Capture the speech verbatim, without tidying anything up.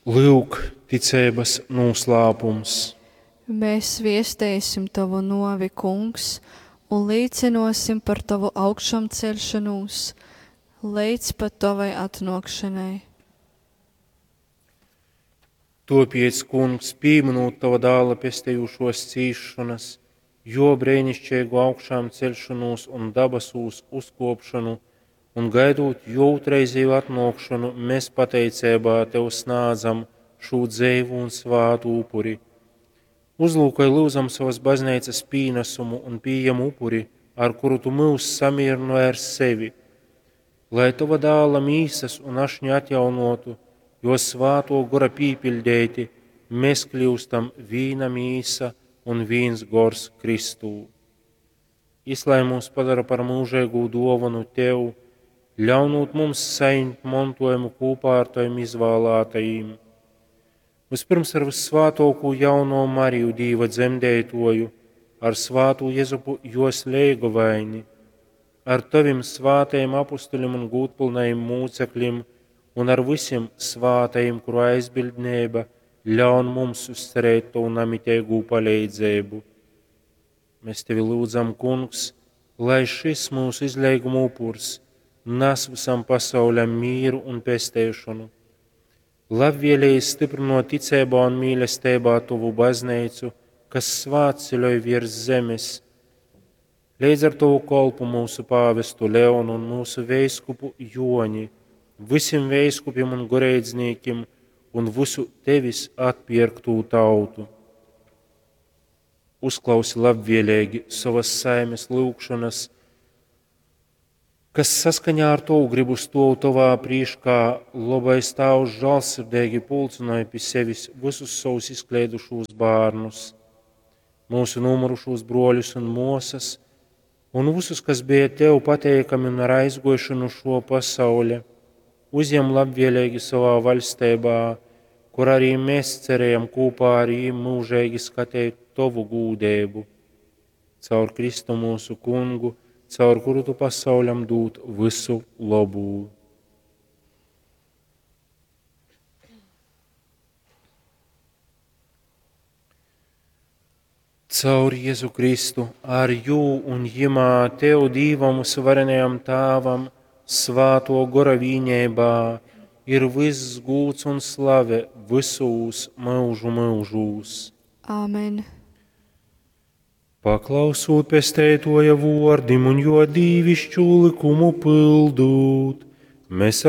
Lyuk, ticeibas nūslāpums. Mēs viesteisim Tavu nuovi, Kungs, un līcynuosim par Tovu augšamceļšonūs leidz pat Tovai atnuokšanai. Topiec, Kungs, pīminūt Tava dāla pestejušos cīšanas, jo brēnišķīgu augšām celšanos un dabasūs uzkopšanu, un gaidot jo otrreizēju atnākšanu, mēs pateicībā Tev snādzam šo dzeivu un svātu upuri. Uzlūkoj lūdzam savas baznīcas pīnesumu un pieņem upuri, ar kuru Tu mūs samierināji ar sevi, lai Tava dāla mīsas un ašņa atjaunotu, jo svāto gora pīpildēti, mēs kļūstam vīna mīsa un vīns gors Kristū. Jis lai mūs padara par mūžīgu dāvanu Tev, ļaunot mums saņemt mantojumu kopā ar Taviem izvēlētajiem. Vispirms ar vissvātāko jauno Mariju Dīva dzemdētoju, ar svātu Jezupu jos leigovaini, ar Tavim svātajiem apustuļiem un gūtpilnajiem mūcekļiem, un ar visiem svātajiem, kuru aizbildnība ļaun mums uzcerēt Tavu namitīgo palīdzību. Mēs Tevi lūdzam, Kungs, lai šis mūsu izleiguma upurs nes visam pasauļam mieru un pestēšanu. Labvēlīgi stiprinot ticībā un mīlestībā Tavu baznīcu, kas svētceļoj virs zemes, līdz ar Tavu kolpu mūsu pāvestu Leonu un mūsu veiskupu Joni, visiem veiskupiem un goreidznīkiem un visu Tevis atpirktū tautu. Uzklausi labvēlīgi savas saimes lūgšanas, kas saskaņā ar Tavu gribu stov Tavā priekšā, labais Tēvs žēlsirdīgi pulcināja pie sevis visus savus izkleidušos bērnus, mūsu nomurušos broļus un mosas, un visus, kas bija Tev pateikami un ar aizgošanu šo pasauli, uzņem labvēlīgi savā valstībā, kur arī mēs cerējam kopā ar viņiem mūžīgi skatīt Tavu gūdību. Caur Kristu mūsu kungu, caur kuru Tu pasauļam dūt visu labu. Caur Jēzu Kristu, ar jū un jimā Tev Dīvam varenajam Tāvam, svāto gora vīņībā, ir viss gūts un slave visūs mūžu mūžūs. Āmen. Paklausūt pestētoja vordim un jo dīvišķu likumu pildūt, mēs